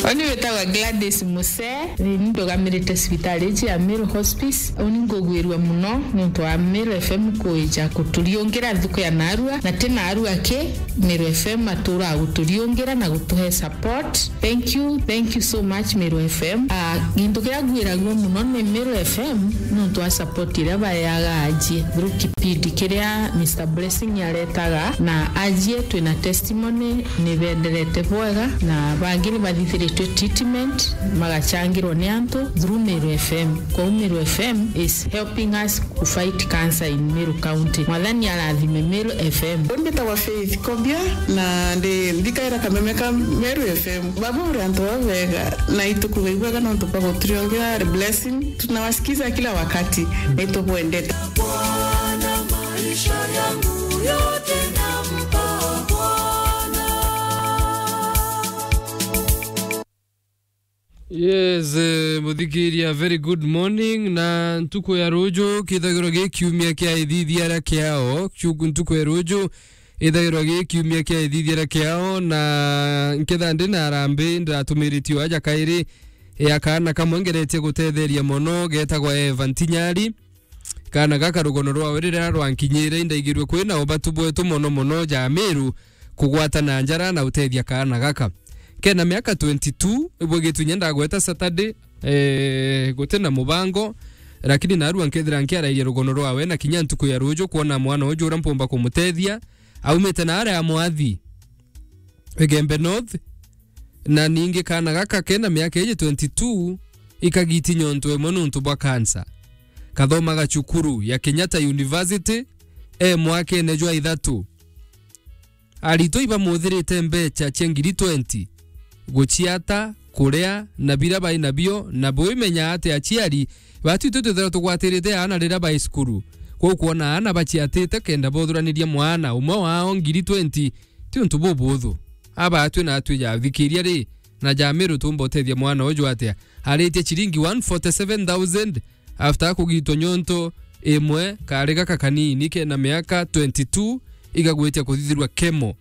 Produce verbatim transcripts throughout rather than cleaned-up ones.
Uni witagwa Gladys Muse, ni ndugamirite cibitari iji ya Meru Hospice. Uni ngugwirua muno nontu wa Meru F M kwija kuturiungira nthuku ya narua, na ti narua ki, Meru F M atura guturiungira na gutuhe support. Thank you, thank you so much, Meru F M. Ah, gintu kiria ngwiragua muno ni Meru F M nontu wa support iria baeaga ajie through kipindi kiria Mister Blessing aretaga, na ajie twina testimony ni benderete bwega, na bangi ni bathithiritwe treatment, magachangirwa ni antu through Meru F M. Kwou Meru F M is helping us to fight cancer in Meru County. Mwathani arathime Meru F M. Mbitagwa Faith Kobia, na ndi ndikaira kameme ka Meru F M. Baba uri antu babega, na itukuga ibwega nontu bwa guturiongera blessing. Tunawasikiza kila wakati, na itubwendete. Bwana, maisha yangu yote nampa Bwana. Yes, eh, muthikiria, very good morning. Na ntuku ya ruju kithagirwa gi kiumia kia ithithia ria kiao. Kiu ntuku ya ruju ithagirwa gi kiumia kia ithithia ria kiao, na nketha ndi na arambi, ndiratumiritie aja kairi ya kaana kamwe ngeretie gutetheria mono, getagwa Eva Ntinyari. Kaana gaka rugono rwawe riria rwankinyire, indaigirue kwina ubatu bwetu mono mono ja Meru kugwatana njara na utethia kaana gaka. Kena miaka twenty-two, ibwe gitunya ndagweta Saturday, eh, guti na mubango, lakini narua nkethira nkiarairia rugono rwawe, na kinya ntuku ya ruju kwona mwana uju uria mpumba kumutethia, aumite na aria Mwathi, Igembe North, na ningi kaana gaka kena miaka iji twenty-two, ikagiti nyonto imwe nontu bwa cancer. Kathomaga cukuru ya Kenyatta University, e mwakene jwa ithatu. Aritwa ibamuthirite mbecha cia ngiri twenty guciata, kuria, na biria bai nabio, na bwimenya ati aciari batu itwi twithirwa tugwatirite aana riria bai cukuru. Kwou kwona aana baciatite kenda bothuraniria mwana umwe wao ngiri twenty, ti untu bubuthu. Aba atwi na atwi jathikiria ri, na ja Meru tumba utethia mwana uju atia? Aritie ciringi one forty-seven thousand after kugitwa nyonto imwe, kari gaka kanini kena miaka twenty-two, igagwitia kuthithirwa kemo,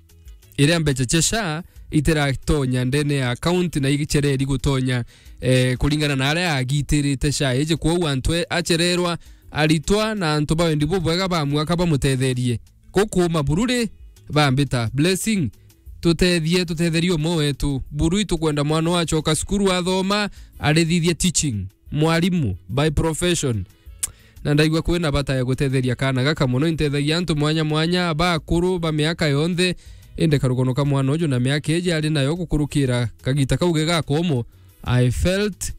iria mbecha cia SHA itiratonya ndene ya account na icereri gutonya, eh, kuringana na aria agitirite SHA iji. Kwou antu e-, acererwa, aritwa na antu ba wendi bubwega ba mwaka bamutetherie. Gukuuma buru ri, bambita Blessing, tutethie, tutetherie umwe wetu. Buru itukwenda mwana wachoka cukuru athoma, arithithie teaching, mwarimu by profession. Na ndaigua kwina bata ya gutetheria kaana gaka mono. Intethagia antu mwanya mwanya, bakuru ba miaka yonthe, indi karugono ka mwana uju na miaka iji ari nayo gukurukira kagita kau gega komo, I felt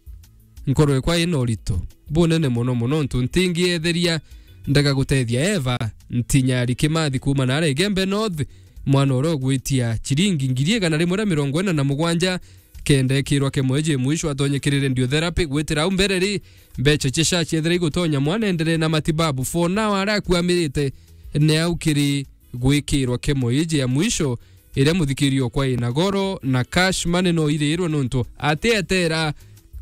nkoro ekwa ina urito bunene mono mono, ntu ntingietheria ndega gutethia Eva Ntinyari Kimathi kuuma naria Igembe North, mwana uria ugwitia ciringi ngiri igana rimwe ria mirongo ina na mugwanja, kenda ekirwa kemo iji mwisho atonye kiri radiotherapy. Gwitira au mbere ri, mbecha cia SHA ciethira igutonya mwana enderee na matibabu. For now, aria akuamirite ni au kiri gwikirwa kemo iji ya mwisho, iria muthikiria okwa ina goro, na cash money no irirwe nontu atietera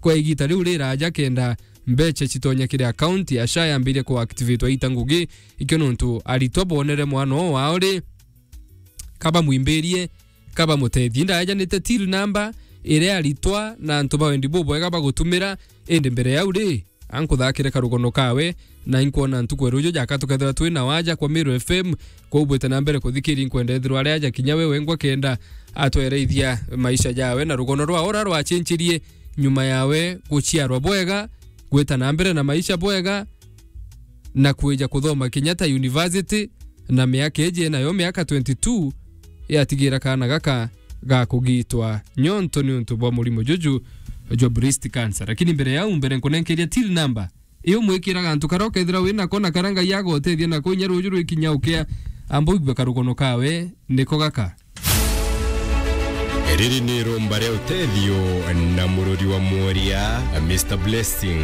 kwa igita riu riraja kenda mbecha citonya kiri account ya SHA yambirie kuactivatwa ita ngugi. Ikio nontu aritwa bonere mwana oo wao ri, kabamwimbirie, kabamutethie. Ndaejanite till number iria aritwa na antu ba wendi bubwega bagutumira, indi mbere yau ri, ankuthakire karugono kawe, na inkwona ntuku ya ruju jaka tukethirwa twi na waja kwa Meru F M. Kwou bwite na mbere kuthikiria, inkwenda ethirwa ari aja kinya we wengwa kenda atwereithia maisha jawe na rugono rwa ura rwachinchirie nyuma yawe guciarwa bwega, gwita na mbere na maisha bwega, na kwija kuthoma Kenyatta University, na miaka iji nayo miaka twenty-two, yatigira kaana gaka ga kugitwa nyonto niuntu bwa murimo juju jwa breast cancer. Lakini mbere yau, mbere nkunenkeria till number, iyo mwikiraga antu karia ukethira wi nako na karia Ngai agotethia nako inya ruju rwikinya ukia, amba uigue karugono kawe niko gaka. Riri ni iromba ria utethio na murori wa mworia, Mister Blessing.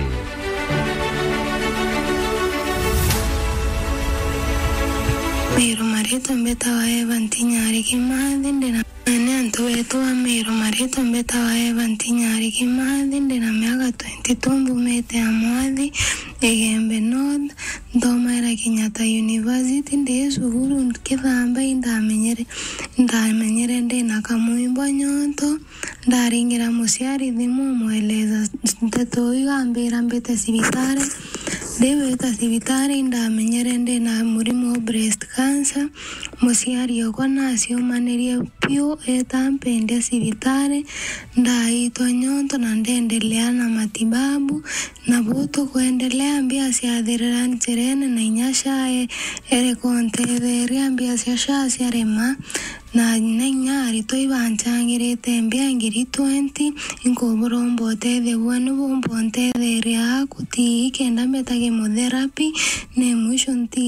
Meru, maritwa mbetawa Eva Ntinyari Kimathi, ndina, ni antu betu ba Meru, maritwa mbetawa Eva Ntinyari Kimathi, ndina miaka twenty-two, mbumite ya Mwathi, Igembe North, nthomaira Kenyatta University, ndi cukuru nkithamba, indamenyere, indamenyere ndina kamwimbo nyonto, Ndaringira muciari thimu, mweleza nteto iu, ambira mbite cibitari. Ndiwita cibitari, ndamenyere ndina murimo wa breast cancer. Muciari okwa naciumanirie piu, eta mpendia cibitari, ndaitwa nyonto na ndendelea na matibabu. Na bu tukwendelea, mbia ciathirira njirene, na inya SHA e-, ereka untetheria, mbia cia SHA ciarema, na, na inya aritwa ibancangirite mbia ngiri twenty, inkuburomba utethio bwenu bumba untetheria aku ti kenda mbeta chemotherapy, ne mwisho nti